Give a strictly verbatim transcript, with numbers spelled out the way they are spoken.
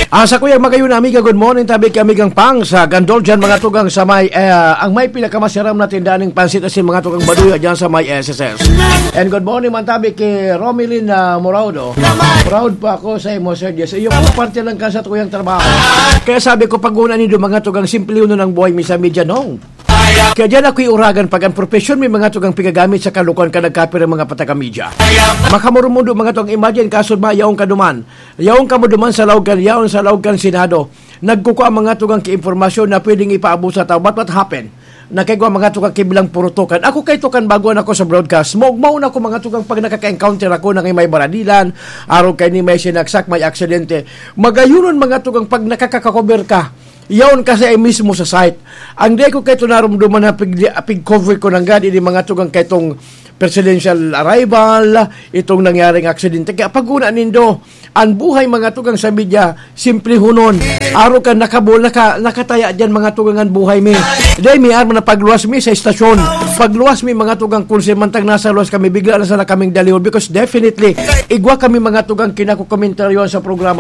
Asa ko yung magayon na amiga, good morning, tabi kay amigang Pang sa Gandol dyan, mga tugang sa may, eh, ang may pinakamasaram na tindahan ng pansit asin, mga tugang Baduya dyan sa may S S S. And good morning man tabi kay Romilin, ah, Moraudo. Proud po ako sa imo, Sir Jess. Iyo po, parte lang ka sa tuyang trabaho. Kaya sabi ko, pag-una nindo, mga tugang, simple yun ang buhay, misa medya nong. Kaya diyan ako'y uragan pag ang profesyon may mga tugang pigagamit sa kalukuhan ka nagkapir ang mga pataga-media. Makamurumundo mga tugang, imagine, kaso ba yaong kaduman? Yaong kamo duman sa laog kan, yaon sa laog kan Senado. Nagkukua mga tugang ki impormasyon na pwedeng ipaabot sa tao. But what happened? Nakaigwa mga tugang ki bilang purutukan. Ako kay tukan bago na ako sa broadcast. Maugmaw na ako mga tugang pag nakaka-encounter ako na may baradilan, araw kay ni may sinaksak, may aksidente. Magayunon mga tugang pag nakakakover ka. Yaon kasi ay mismo sa site. Ang di ko kay tunarumduman na pig, pig-cover ko nanggad, ini mga tugang kay itong presidential arrival, itong nangyaring aksidente. Kaya pag-una nindo, ang buhay mga tugang sa media, simple hunon. Araw ka nakabol, naka, nakataya dyan mga tugang ang buhay mi. Dahil may arma na pagluwas mi sa estasyon. Pagluwas mi mga tugang kung simantang nasa luwas kami, bigla na sana kaming dalihon. Because definitely, igwa kami mga tugang kinakukomentaryo sa programa.